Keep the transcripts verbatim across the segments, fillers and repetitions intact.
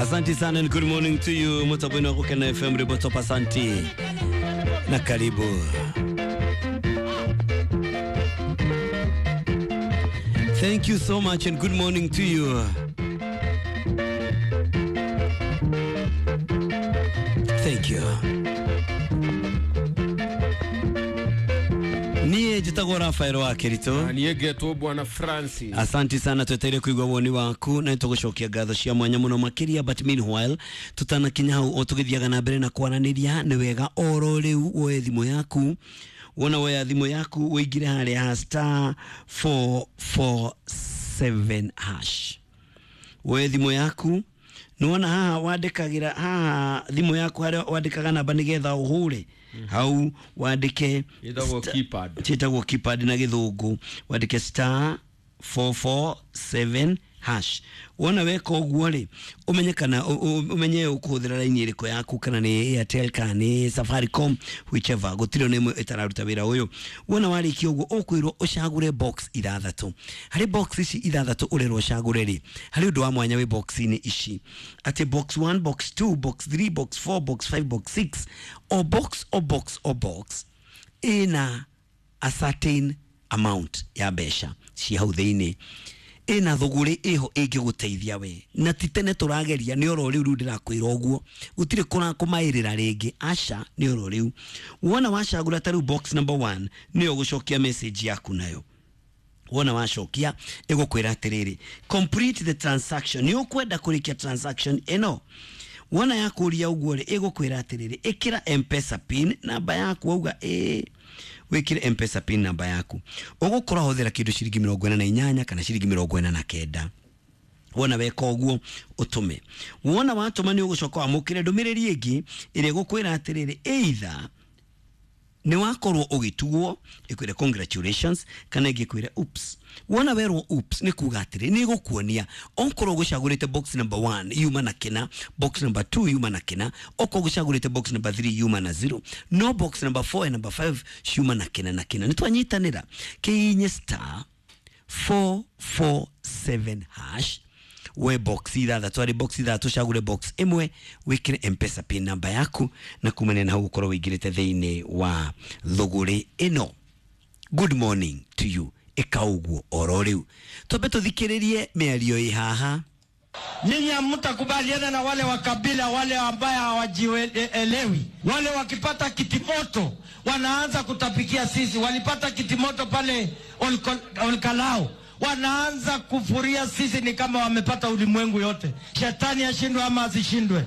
Asante sana and good morning to you mutabwini wa Gukena F M Ribotop, asante na karibu. Thank you so much and good morning to you. Thank you. Niye njitagwo Rafael wa Kirito. Na niĩ ngetwo Bwana Francis. Asante sana, tweteire kuigua woni waku na nĩtũgũcokia ngatho cia mwanya mũno makĩria, but meanwhile tutanakinya hau o tũgĩthiaga na mbere na kwaranĩria, nĩ wega oro rĩu woe thimũ yaku, wona woya thimũ yaku ũingĩre harĩa ha star four four seven hash, woe thimũ yaku nĩwona haha wandĩkagĩra haha thimũ yaku harĩa wandĩkaga namba nĩgetha ũhũre hau wandĩke Ĩtagwo sta- keypad. Ĩtagwo keypad na gĩthũngũ, wandĩke star four four seven hash. Wona weka ũguo rĩ, ũmenye kana ũ-, ũ-, ũmenye ũkũhũthĩra raini ĩrĩkũ yaku, kana nĩ Airtel kana nĩ Safaricom, whichever, gũtirĩ ona ĩmwe ĩtararuta wĩra ũyũ. Wona warĩkia ũguo ũkwĩrwo ũcagũre box ithathatũ. Harĩ box ici ithathatũ ũrerwo ũcagũre rĩ, harĩ ũndũ wa mwanya wĩ box-inĩ ici, atĩ box one, box two, box three, box four, box five, box six, o box, o box, o box ĩna a certain amount ya mbeca ci hau thĩinĩ, ĩna thũgũrĩ ĩho ĩngĩgũteithia we, na ti tene tũrageria, nĩ oro rĩu rĩu ndĩrakwĩra ũguo, gũtirĩ kũmaĩrĩra rĩngĩ, aca, nĩ oro rĩu. Wona wacagũra ta rĩu box number one, nĩyo ũgũcokia message yaku nayo. Wona wacokia ĩgũkwĩra atĩrĩrĩ, complete the transaction, nĩ ũkwenda kũrĩkia transaction ĩno. Wona yakũria ũguo rĩ, ĩgũkwĩra atĩrĩrĩ, ĩkĩra M-Pesa pin namba yaku, wauga ĩĩ, wĩkĩre M-Pesa pin namba yaku, ũgũkorwo hũthĩra kĩndũ ciringi mĩrongo ĩna na inyanya kana ciringi mĩrongo ĩna na kenda. Wona weka ũguo ũtũme. Wona watũma nĩ ũgũcoka wamũkĩre ndũmĩrĩri ĩngĩ ĩrĩa ĩgũkwĩra atĩrĩrĩ, either nĩ wakorwo ũgĩtugwo ĩkwĩre congratulations, kana ĩngĩ ĩkwĩre oops. Wona werwo oops nĩ kuga atĩrĩ, nĩ ĩgũkuonia okorwo ũgũcagũrĩte box number one yuma na kĩna, box number two yuma na kĩna, okorwo ũgũcagũrĩte box number three yuma na zero, no box number four and number five ciuma na kĩna na kĩna. Nĩ twanyitanĩra kĩinye star four four seven hash, we box ithathatũ, arĩ box ithathatũ, cagũre box ĩmwe, wĩkĩre M-Pesa pin namba yaku, na kumania na hau ũkorwo wĩingĩrĩte thĩinĩ wa thũgũrĩ ĩno. Good morning to you. Ĩka ũguo oro rĩu. Twambe tũthikĩrĩrie mĩario ĩ haha. Nyinyi hamtakubaliana na wale wa kabila, wale ambaye hawajielewi, wale wakipata kitimoto wanaanza kutapikia sisi. Walipata kitimoto pale Olko-, Olkalao, wanaanza kufuria sisi ni kama wamepata ulimwengu yote. Shetani ashindwe ama asishindwe?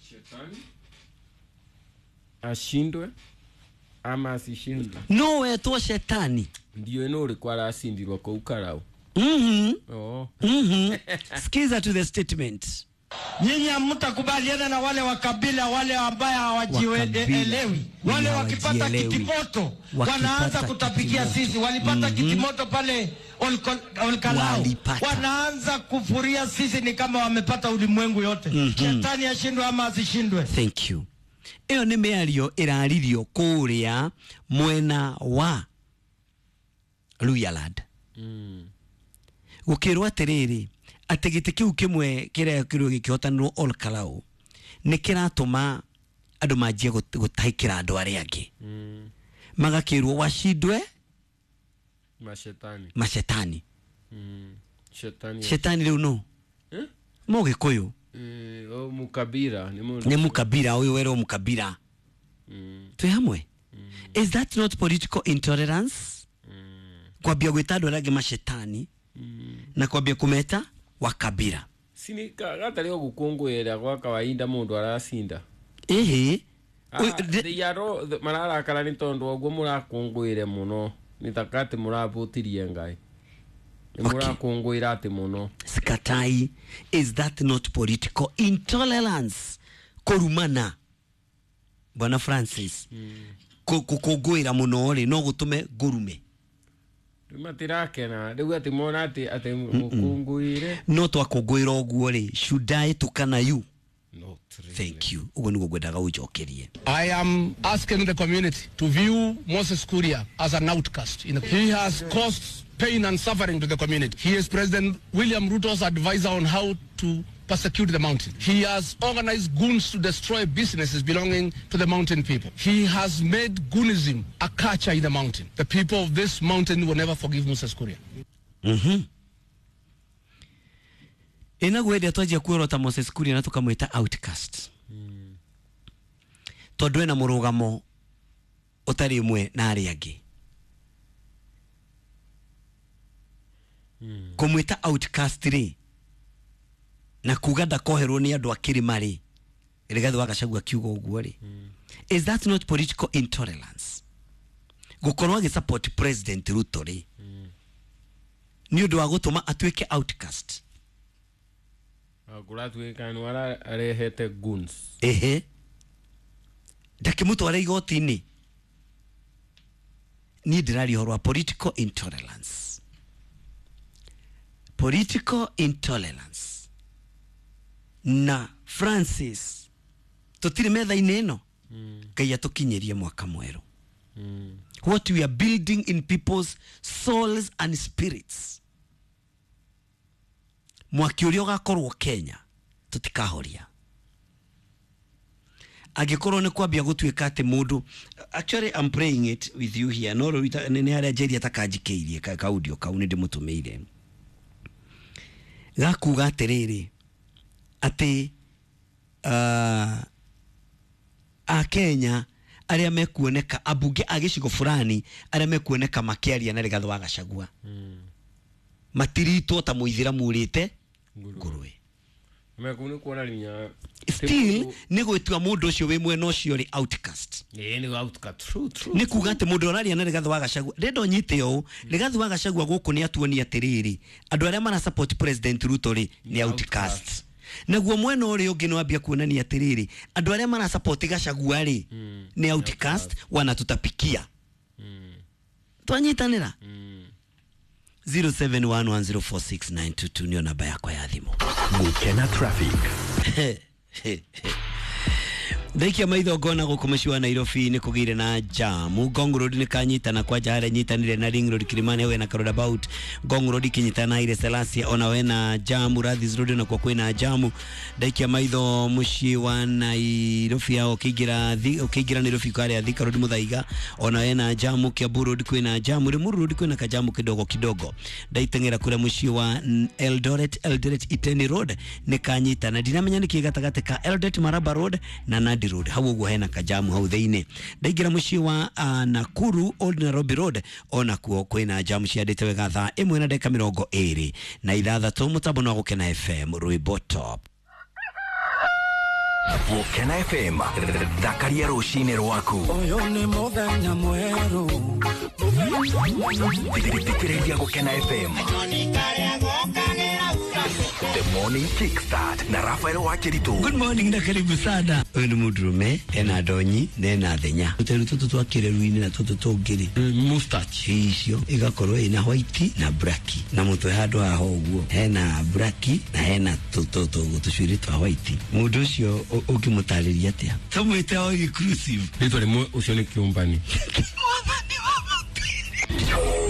Shetani ashindwe ama asishindwe? No, wetwo shetani. Ndio ino ulikuwa aracindirwo kũu Karau. Mhm. Oh. Mhm. Skiza to the statement. Nyinyi hamtakubaliana na wale wa kabila, wale ambaye hawajielewi, wale wakipata Hawajielewi. kitimoto Wakipata wanaanza kutapikia kitimoto. sisi. Walipata Mhm. kitimoto pale Olko-, Olkalao, Walipata. wanaanza kufuria sisi ni kama wamepata ulimwengu yote. Mhm. Shetani ashindwe ama asishindwe? Thank you. Ĩyo nĩ mĩario ĩraririo kũrĩa mwena wa Luhyaland. Mm. Gũkĩrwo atĩrĩrĩ, atĩ gĩtĩ kĩu kĩmwe kĩrĩa kĩrĩ gĩkĩhotanĩrwo Olkalou nĩ kĩratũma andũ manjie gũt-, gũtahĩkĩra andũ arĩa angĩ. Mm. Magakĩrwo washindwe mashetani. Mashetani. Mm. Shetani. Shetani rĩu no? Eh? Mũgĩkũyũ. Eh, o mukabira, nĩ mũndũ. Nĩ mukabira, ũyũ werwo mukabira. Mm. Twĩ hamwe? Mm. Is that not political intolerance? Mm. Kwambia gwĩta andũ arĩa angĩ mashetani. Mm. Na kwambia kũmeta wakabira. Sini ka-, gatarĩ o gũkũngũĩra gwa kawaida mũndũ aracinda. Ĩhĩ. Ah, Oi, the they are all, the, mararakara nĩ tondũ ũguo mũrakũngũĩre mũno. Nĩ ta atĩ mũravũtirie Ngai. Nĩ Okay. mũrakũngũĩra atĩ mũno. Sikatai, is that not political intolerance? Kũrumana. Bwana Francis. Mm. Kũ-, kũkũngũĩra mũno rĩ, no gũtũme ngũrume. Rĩu matirakena, rĩu atĩ mona atĩ, atĩ mũkũngũĩre. No twakũngũĩra ũguo rĩ, should I tukana you? Not really. Thank you. Ũguo nĩguo ngwendaga ũnjokerie. I am asking the community to view Moses Kuria as an outcast. He has caused pain and suffering to the community. He is President William Ruto's advisor on how to persecute the mountain. He has organized goons to destroy businesses belonging to the mountain people. He has made goonism a culture in the mountain. The people of this mountain will never forgive Moses Kuria. Mhm. Ina gwende twanjia kuorota Moses Kuria na tukamwita outcast. Mm. Tondu ena murugamo utari mwe na aria angi. Mm. Kumwita outcast ri na kuga ndakoherwo ni andu a kirima ri Rigathi wa Gachagua kiuga uguo ri. Mm. Is that not political intolerance? Gukorwo agi support President Ruto ri. Mm. Ni undu wa gutuma atuike outcast. Kũratuĩka nĩ arehete goons. Ehe. Ndakĩmũtwara igoti-inĩ. Niĩ ndĩraria ũhoro wa political intolerance. Political intolerance. Na Francis tũtirĩ metha-inĩ ĩno. Ngai atũkinyĩrie mwaka mwerũ. Mm. What we are building in people's souls and spirits. Mwaki ũrĩa ũgakorwo Kenya tutikahoria. Angĩkorwo nĩ kwambia gũtuĩka atĩ mũndũ, actually I'm praying it with you here, no rũita nĩ harĩa Njeri atakanjikĩirie ka audio kau nĩ ndĩmũtũmĩire gakuga atĩrĩrĩ atĩ uh, a Kenya arĩa mekuoneka abunge a gĩcigo fulani arĩa mekuoneka makĩaria na Rigathi wa Gachagua mm. matiritwo ta mũithĩramu ũrĩte ngũrwe. Mekuni kuona linya still nĩ gwĩtua mũndũ ũcio wĩ mwena ũcio rĩ outcast. Ĩĩ nĩ outcast, true true. Nĩ kuga atĩ mũndũ ũraria na Rigathi wa Gachagua ndenda ũnyite ũũ Rigathi wa Gachagua gũkũ nĩ atuonia atĩrĩrĩ andũ arĩa mara support President Ruto rĩ nĩ outcast. Naguo mwena ũrĩa ũngĩ nĩ wambia kuonania atĩrĩrĩ andũ arĩa mara support Gachagua rĩ nĩ outcast wanatutapikia. Twanyitanĩra. zero seven one one zero four six nine two two niyo namba yakwa ya thimũ. Gukena traffic. Ndaikia maitho ngona gũkũ mũciĩ wa Nairobi nĩ kũgĩire na jamu. Ngong Road nĩ kanyitana kwanja harĩa nyitanire na Ring Road Kilimani hau na roundabout. Ngong Road ikinyitana na Haile Selassie ona we na jamu. Rathis Road na kwa kwĩna jamu. Ndaikia maitho mũciĩ wa Nairobi hao ũkĩingĩra ũkĩingĩra Nairobi karĩa Thika Road Muthaiga ona we na jamu. Kiambu Road kwĩna jamu. Limuru Road kwĩna kajamu kidogo kidogo. Ndaiteng'era kũrĩa mũciĩ wa Eldoret Eldoret Iteni Road nĩ kanyitana. Ndinamenya nĩkĩ gatagatĩ ka Eldoret Maraba Road na Nandi Road hau uguo hena kajamu hau thiini. Ndaingira muciĩ wa uh, Nakuru Old Nairobi Road ona kuo kwina jamu ciandĩte wega thaa ĩmwe na ndagĩka mĩrongo ĩrĩ na ithathatũ. Mũtambo no Gũkena F M rwĩmbo top. Gũkena F M thakaria rũcinĩ rwaku. Ũyũ nĩ mũthenya mwerũ. Thikĩrĩria Gũkena F M The Morning Kickstart na Rafael Wakiritu. Good morning na karibu sana. Uyu ni mundurume ena ndonyi na ena thenya. Tuteru tutu twa kireru-inĩ na tutu tũngĩ rĩ mustache icio igakorwo ina white na black na mutwe handu haha ũguo hena black na hena tũcuĩrĩ twa white. Mundu ũcio ũngĩmũtarĩria atĩa? Tũmwĩte all inclusive. Rĩtwa rĩmwe ũcio nĩ kĩũmbani.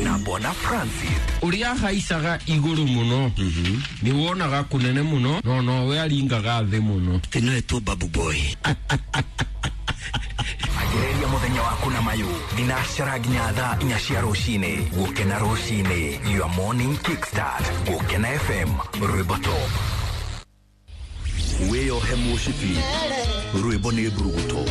Na Bwana Francis uria haicaga iguru muno ni wonaga kunene muno no no we aringaga thi muno tino etu babu boy. Agereria muthenya waku na mayu thinacara nginya thaa inya cia rucini. Gukena rucini, your morning kickstart. Gukena F M rwimbo top. Wiyohe mucibi rwimbo ni mburuguto.